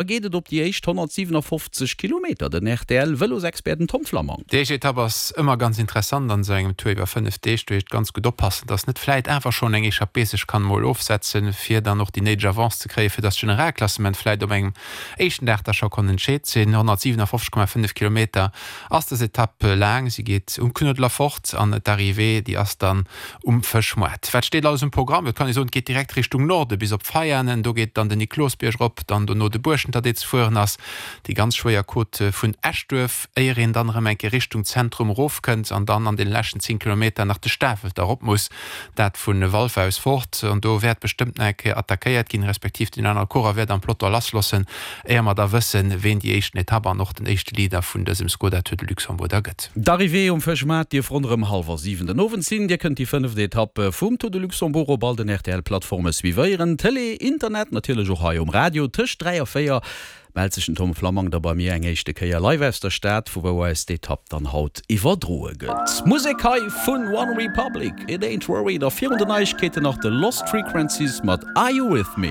Geet et op déi éischt 157 Kilometer, den RTL-Vëlosexpert den Tom Flammang. Déi éischt Etapp ass ëmmer ganz interessant an esou engem Tour iwwer 5 Deeg. Do heescht ganz gutt oppassen, dass net vläit awer schonn eng Echappée sech kann emol ofsetzen, fir dann och déi néideg Avance ze kréien, fir dass d'Generalklassement vläit op engem éischten Dag da scho konnt entscheet sinn. 157,5 Kilometer ass dës Etapp laang. Si geet um Knuedler fort an d'Arrivée, déi ass dann Um Fëschmoart. Wat steet alles um Programm? Et kann ee soen, et geet direkt Richtung Norde bis op Veianen. Do geet dann den Niklosbierg erop, dann dono de Buerschenter, dee ze fueren ass, déi ganz schwéier Côte vun Eschduerf, éier een dann erëm eng Kéier Richtung Zentrum erofkënnt an dann an deene leschten 10 Kilometer nach de Stafelter erop muss, dat vu Walfer aus fort. An do wäert bestëmmt nach eng Kéier attackéiert ginn, respektiv deen anere Coureur wäert am Peloton lassloossen, éier mer da wëssen, ween déi éischten Etapp an och den éischte Leader vun dësem Skoda Tour de Luxembourg da gëtt. D'Arrivée um Fëschmaart dierf ronderëm hallwer 7 den Owend sinn. Dir kënnt déi fënneft Etapp vum Tour de Luxembourg op all den RTL-Plattforme suivéieren, Tëlee, Internet, natierlech och hei um Radio. Tëscht 3 a 4 mellt sech den Tom Flammang da bei mir eng éischte Kéier live aus der Stad, vu wou eis d'Etapp dann haut iwwerdroe gëtt. Musek hei vun One Republic, It Ain't Worried a virun den Neiegkeeten nach de Lost Frequencies mat Are You With Me?